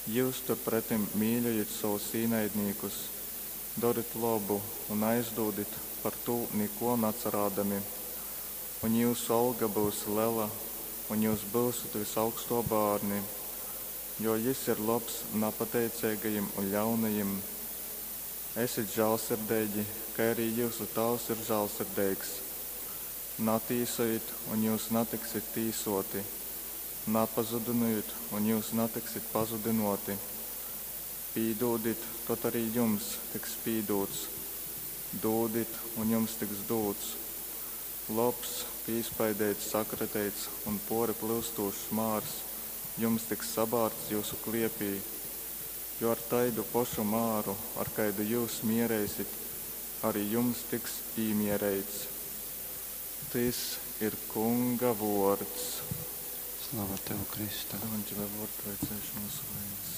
Jyus turpretim mīļojit sovus īnaidnīkus, dorit lobu un aizdūdit par tū nikō nacarādami. Un jyusu olga byus lela, un jyus byusit Vysaugstō bārni, jo Jys ir lobs napateiceigajim un ļaunajim. Esit žālsirdeigi, kai arī jyusu Tāvs ir žālsirdeigs. Natīsojit, un jyus natiksit tīsōti, napazudynojit, un jyus natiksit pazudynōti. Pīdūdit, tod arī jums tiks pīdūts. Dūdit, un jums tiks dūts. Lobs, pīspaideits, sakrateits un pōri plyustūšs mārs jums tiks sabārts jyusu kliepī. Jo ar taidu pošu māru, ar kaidu jyus miereisit, arī jums tiks īmiereits. Tys ir Kunga vōrds. Slava Tev, Kristu! Evangelija vōrdu lai ceļš mūsu vainas.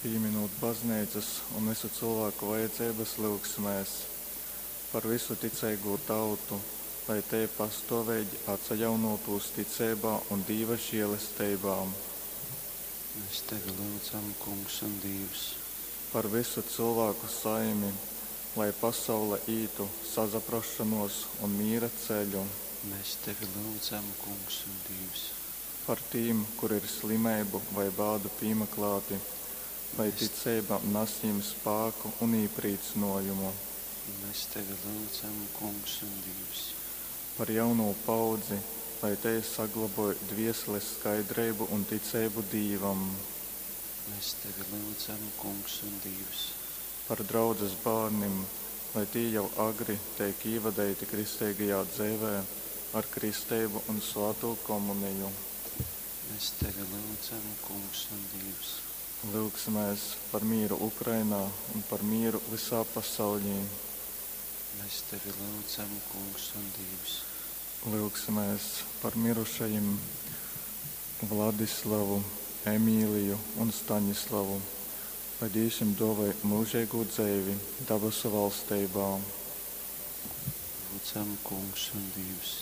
Pīminūt bazneicas un visu cilvēku vajadzeibas, lyugsimēs par visu ticeigū tautu, lai tei pastōveigi atsajaunōtūs ticeibā un Dīva želesteibā. Mēs Tevi lyudzam, Kungs un Dīvs. Par vysu cylvāku saimi, lai pasaule ītu sasaprasšonōs un mīra ceļu. Mēs Tevi lyudzam, Kungs un Dīvs. Par tīm, kuri ir slimeibu vai bādu pīmaklāti, lai Mēs ticeiba nas jīm spāku un īprīcynōjumu. Mēs Tevi lyudzam, Kungs un Dīvs. Par jaunū paaudzi, lai tei sagloboj dvieseles skaidreibu un ticeibu Dīvam. Mēs Tevi lyudzam, Kungs un Dīvs. Par draudzes bārnim, lai tī jau agri teik īvadeiti kristeigajā dzeivē ar kristeibu un svātū komuniju. Mēs Tevi lyudzam, Kungs un Dīvs. Lyugsimēs par mīru Ukrainā un par mīru vysā pasauļī. Mēs Tevi lyudzam, Kungs un Dīvs. Lyugsimēs par mirušajim Vladislavu, Emīliju un Stanislavu, lai Dīvs jim dōvoj myužeigū dzeivi dabasu valsteibā. Lyudzam, Kungs un Dīvs.